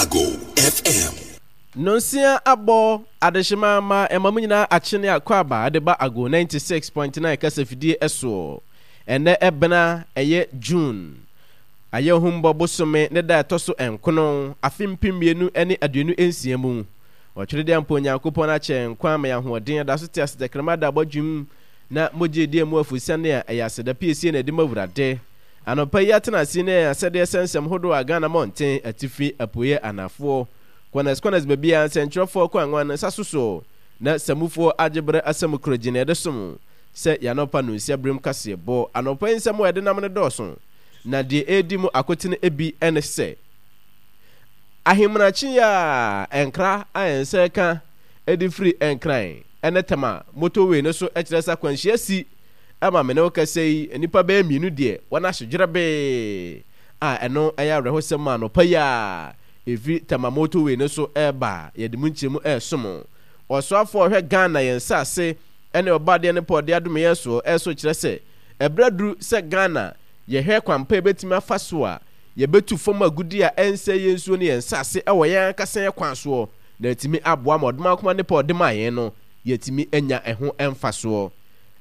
Ago FM. Nonsia abɔ adehyema ma ɛma mo nyinaa akyene akwaaba de ba Ago 96.9 kasafidie soɔ. Ɛnnɛ ɛbena ɛyɛ June Ayɛhumbɔ bosome ne da ɛtɔ so nkono afe 2026 mu. Ɔtweredeɛ ampa Onyankopɔn akyɛ yɛn nkwa ama yɛn ahoɔden yɛda so te ase tɛkrɛma da abɔdwem na mogya edi emu afusiane a ɛyɛ aseda piesie na ɛde ma Awurade. Anɔpa yi atena ase ne yɛn asɛdeɛ sɛ nsɛm hodoɔ a Ghana mmɔnten, atifi, apueɛ, anafoɔ, kɔnɛs kɔnɛs baabiara nsɛntwerɛfoɔ kɔ anwan nsa so soɔ na samufoɔ agye berɛ asɛm koro gyina yɛde som sɛ yɛn anɔpa nonsia berem kaseɛbɔ. Anɔpa yi nsɛm a yɛde nam no dɔɔso na deɛ ɛredi mu akotene bi ne sɛ Ahemanakye yi a nkra a yɛn nsa reka de firi Nkran ne Tema motorway no so kyerɛ sɛ akwanhyia si ma me ne wo kasa yi, nnipa bɛyɛ mmienu deɛ wɔn ahye dwerɛbee a ɛno yɛ awerɛhosɛm ma anɔpa yi a ɛfiri Tema motorway no so reba a yɛde mu nkyerɛmu resom. Ɔsoafoɔ a ɔhwɛ Ghana yɛn nsase ne ɔbɔadeɛ ne pɔ ɔde adome yɛn soɔ nso kyerɛ sɛ ɛberɛ aduru sɛ Ghana yɛhwɛ kwan pa yɛbɛtumi afa so a yɛbɛtu fam agudeɛ a ɛnsɛe yɛn nsuo ne yɛn nsase wɔ yɛn ankasa yɛn kwan soɔ na atumi aboa ma ɔdomankoma nnepa a ɔde maa yɛn no yɛatumi anya ɛho mfasoɔ.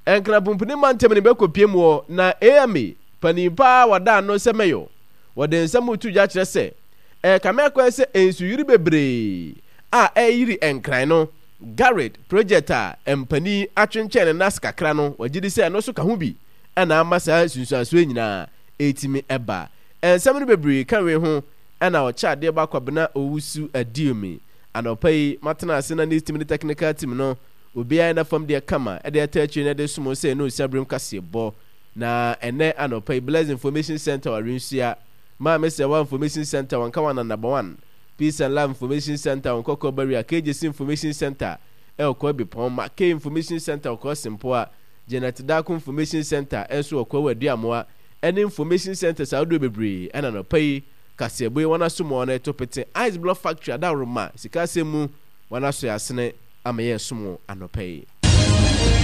Nkran Pumpuni mantam no bɛkɔpue mu hɔ na AMA panin pa ara wɔda ano sɛ Mayor wɔde nsɛm reto dwa kyerɛ sɛ ɛrekame akɔyɛ sɛ nsuyiri bebree a ɛreyiri Nkran no GARID project a mpanin atwentwɛn ne nan ase kakra no wɔgye di sɛ ɛno nso ka ho bi na ama saa nsunsuansoɔ yi nyinaa ɛretumi ba. Nsɛm no bebree ka wei ho na ɔkyɛ adeɛ ba Kwabena Owusu Aduomi. Anɔpa yi matena ase na news team ne technical team no obiara yɛ n'afam deɛ kama de ata akyire na de som wo sɛ ɛne osia berem kaseɛbɔ. Na ɛnɛ anɔpa yi Bless Information Center wɔ Awensua, Maame Serwaa Information Center wɔ Nkawana Number One, Peace and Love Information Center wɔ Nkɔkɔɔ Barrier, KJC Information Center wɔ Kwahu Bepɔn, Mackay Information Center wɔ Kwahu Sempoa, Janet Darko Information Center nso wɔ Kwahu Aduamoa, ne Information Centres ahodoɔ bebree ɛna anɔpa yi kaseɛbɔ yi wɔn aso mu a wɔn reto pete Ice Block Factory adaworoma sika asɛm mu wɔn aso yɛ asene ama yɛ resom wo anɔpa yi.